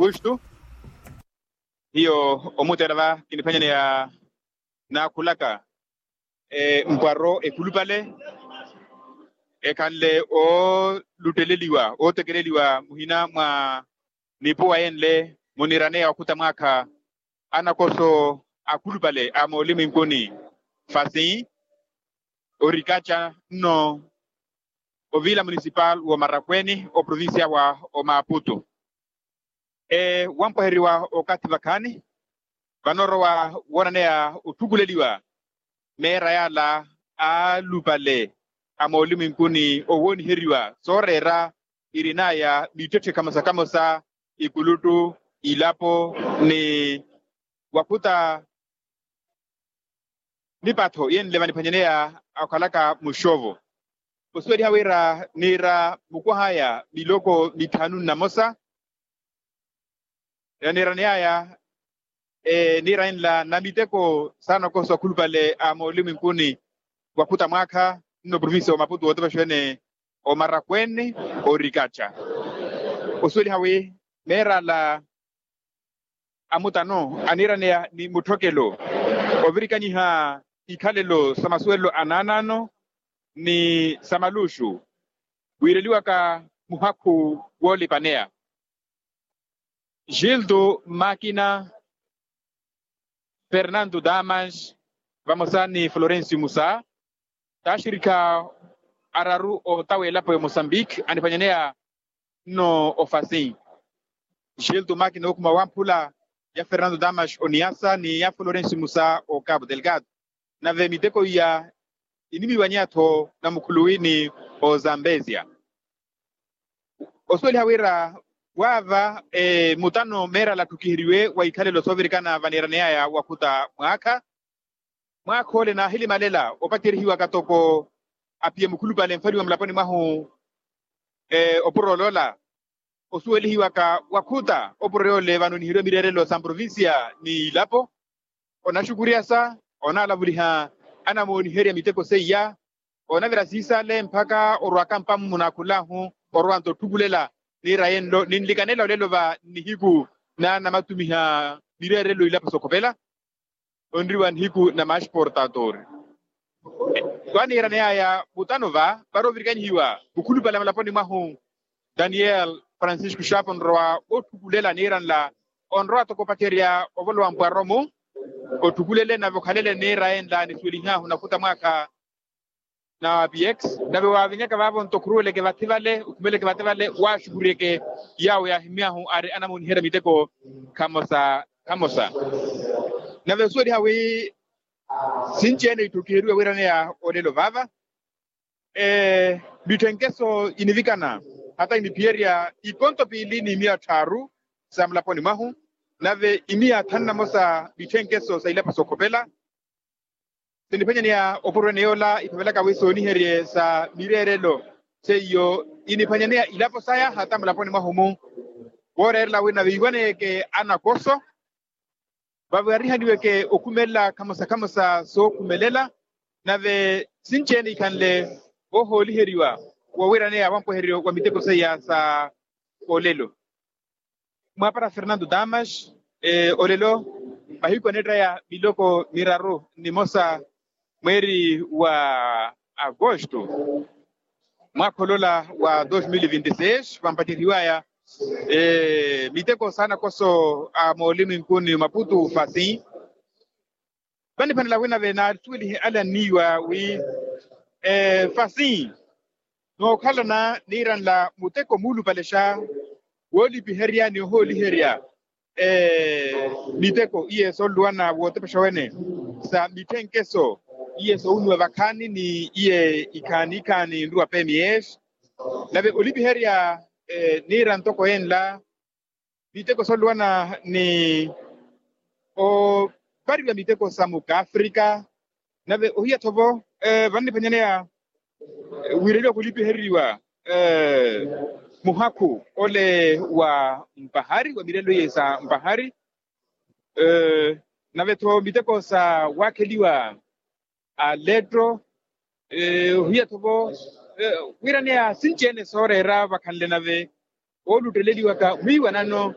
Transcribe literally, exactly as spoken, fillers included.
Augusto. Hiyo omuteera va kiniphanyaneya naakhulaka mpwaro ekhulupale ekhanle oolutteleliwa ootekeleliwa muhina mwa nipuwa yenle muniiraneya wakhuta mwaakha anakoso akhulupale a moolimwinkuni fasi orikaca nno ovila munisipal woomarakweni oprovincia wa omaaputu. Wampwaheriwa okathi vakhaani vanoorowa woonaneya otthukuleliwa meera yaala aalupale a moolimwinkuni owooniheriwa sooreera irinaya mittetthe khamosa khamosa ikuluttu ilapo ni wakhuta mipatho yenle vaniphanyaneya akhalaka muxovo osuweliha wira niira mukwahaya miloko mithanu nnamosa niiraneyaya niira enla na miteko saana okoso akhulupale a moolimwinkuni wakhuta mwaakha nno provincia wa maputu wootepexwene omarakweni orikaca osuweliha wi meera ala amutano aniiraneya ni mutthokelo ovirikanyiha ikhalelo sa masuwelelo a naanaano ni sa maluxu wiireliwaka muhakhu woolipaneya gildo makina fernando damas vamosa ni florencio musa taaxirikha araru otawa elapo ya mosambique aniphanyaneya nno ofasi gildo makina okhuma wamphula ya fernando damas oniasa ni ya florencio musa ocabo delgado nave miteko iya inimiwanyeya-tho namukhuluwini ozambezia osuweliha wira waava mutano meerala atthukiheriwe wa ikhalelo soovirikana vaniiraneyaya wakhuta mwaakha mwaakha ole naahilimalela opatyerihiwaka toko apiye mukhulupale nfaliwa mulaponi mwahu opuro oloola osuwelihiwaka wakhuta opuro yoole vanoniheriwa mireerelo sa mprovincia ni ilapo onaxukuriyasa onaalavuliha anamooniherya miteko seiya onavira siisale mpakha orwaka mpammuna akhulahu orwanta otthukulela niira yenlo ninlikanela olelo va nnihiku na namatumiha mireerelo ilapo sokhopela onriwa nihiku na masportatori vaniiraneyaya mutano va varoovirikanyihiwa mukhulupale mulaponi mwahu daniel francisco xapo onrowa otthukulela niira nla onrowa toko opacerya ovolowa mpwaro-mu otthukulele nave okhalele niira enla nisuwelihahu nakhuta mwaakha na px nave waavinyaka vaavo nto okhuruweleke vathi vale okhumeleke vathi vale waaxukuriyeke yaawo yaahimyahu ari anamooniherya miteko khamosa khamosa nave osuweliha wi sinci-ene itthukiheriwe wiiraneya olelo vaava mitthenkeso inivikana hata iniphiyerya ikonto piili ni miya tthaaru sa mulaponi mwahu nave imiya thanu namosa mitthenkeso sa ilapo sokhopela siniphanyaneya opurwene yoola iphavelaka wi sooniherye sa mireerelo seiyo iniphanyaneya ilapo saya hata mulaponi mwahu-mu wooreerela wina viiwaneyeke anakoso vavarihaniweke okhumelela khamosa khamosa sookhumelela nave sinci-ene ikhanle ohooliheriwa wowiiraneya wampweheryo wa miteko seiya sa olelo mwaapara fernando damas olelo mahiku aneettaya miloko miraru nimosa mweeri wa agosto mwaakha olola wa dos mil vinti seis vampaceryiwaya miteko saana koso a moolini nkuni maputu fasi vaniphanela wina vene asuwelihe ale anniiwa wi fasi nookhalana niiranla muteko muulupalexa woolipiherya ni ohooliherya miteko iye sooluwana wootepexa wene sa mitthenkeso iye soowuniwa vakhaani ni iye ikhaani ikhaani nruwa pms nave olipiherya niira ntoko enla miteko sooluwana ni opariwa miteko sa mukaafrika nave ohiya-tho vo vanniphanyaneya wiireliwa khulipihereriwa muhakhu ole wa mpahari wa mireelo iye sa mpahari nave-tho miteko sa waakheliwa aletto ohiya-tho vo wiiraneya sinci-ene sooreera vakhanle nave oolutteleliwaka mwiiwanano